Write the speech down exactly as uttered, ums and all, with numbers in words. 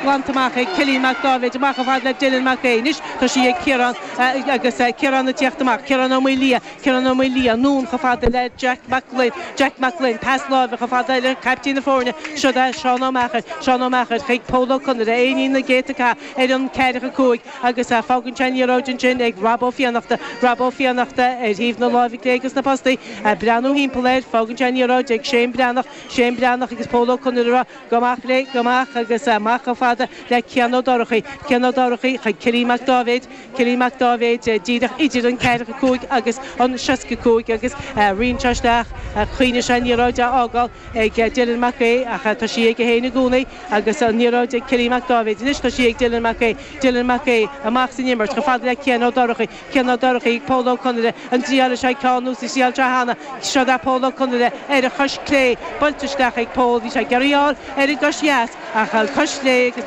Glanta amach ag Cillian Mac Dáibhéid amach chomh fada le Dylan Mac Aodha. Anois tá sí ag Ciarán agus Ciarán ag tíocht amach, Ciarán Ó Maoildhia, Ciarán Ó Maoildhia anonn chomh fada le Jack Mac Gloinn, Jack Mac Gloinn, pas láimhe chomh fada le caiptín na foirne, seo é Seán Ó Meachair, Seán Ó Meachair chuig Pól Ó Conaire, é i na gcéadta ar an ceathracha cúig agus fágann sé an liathróid ansin ag Rob Ó Fiannachta, Rob Ó Fiannachta ar thaobh na láimhe clé agus na postaí, breathnú thimpeall air, fágann sé an liathróid ag Shane Breathnach, Shane Breathnach agus Pól Ó Conaire go amach léi, go amach agus amach chomh fada le Cian Ó Dorchaí, Cian Ó Dorchaí chuig Cillian Mac Dáibhéid, Cillian Mac Dáibhéid díreach idir an ceathracha cúig agus an seasca cúig agus ritheann sé isteach choinnigh sé an liathróid á fhágáil ag Dylan Mac Aodha ach tá sí aige féin i gcónaí agus an liathróid ag Cillian Mac Dáibhéid. Anois tá sí ag Dylan Mac Aodha, Dylan Mac Aodha amach san imirt chomh fada le Cian Ó Dorchaí, Cian Ó Dorchaí, Pól Ó Conaire, an dtriáil sé ceann nó sa triail seo cheana, seo é Pól Ó Conaire ar a chois clé, buailte isteach ag Pól, bhí sé ag iarraidh ar an gcois dheas ach an cois chlé agus